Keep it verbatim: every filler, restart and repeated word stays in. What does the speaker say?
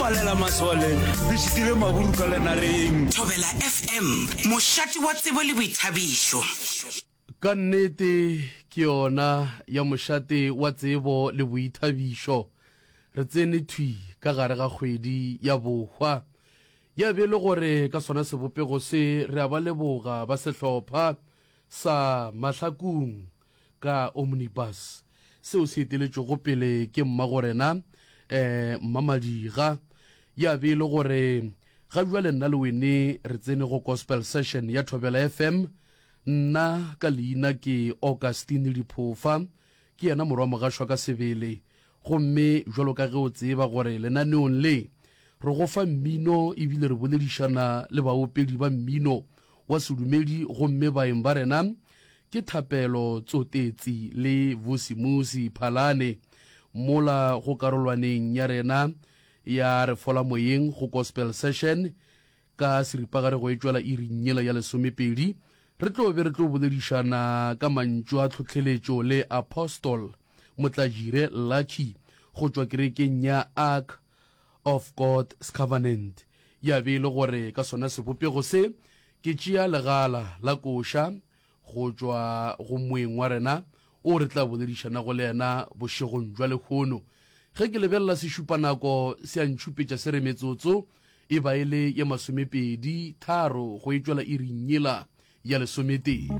palela masole re šitile maburu ka lenareng. Thobela F M, mošate wa tsebo le boithabišo. Ka nnete ke yona ya mošate wa tsebo le boithabišo. Re tsene thwi ka gare ga kgwedi ya bohwa. Ya be e le gore ka sona sebopego se re a ba leboga ba sehlopha sa Mahlakung ka Omnibus seo se eteletšwego pele ke mmagorena um Mmamadira. Ya be e le gore ga bjale nna le wene re tsene go Gospel Session ya Thobela F M. Nna ka leina ke Augustine Diphofa, ke yena morwa mogašwa ka sebele. Gomme bjalo ka ge o tseba gore lenaneong le re go fa mmino ebile re boledišana le baopedi ba mmino wa sedumedi, gomme baeng ba rena ke Thapelo Tsotetsi le Vusimusi Phalane mola go karolwaneng ya rena ya Re Fola Moyeng go Gospel Session ka seripagare go e tšwela iring yela ya lesomepedi re tlo be re tlo boledišana ka mantšu a tlhohleletšo le Apostle Motlajire Lucky go tšwa kerekeng ya Ark of God's Covenant. Ya be e le gore ka sona sebopego se ke tšea legala la koša go tšwa go moeng wa rena o re tla boledišanago le yena bošegong bja lehono. Ge ke lebelela sešupanako se a ntšhupetša se re metsotso e ba e le ye masomepedi tharo go e tšwela iring yela ya lesometee.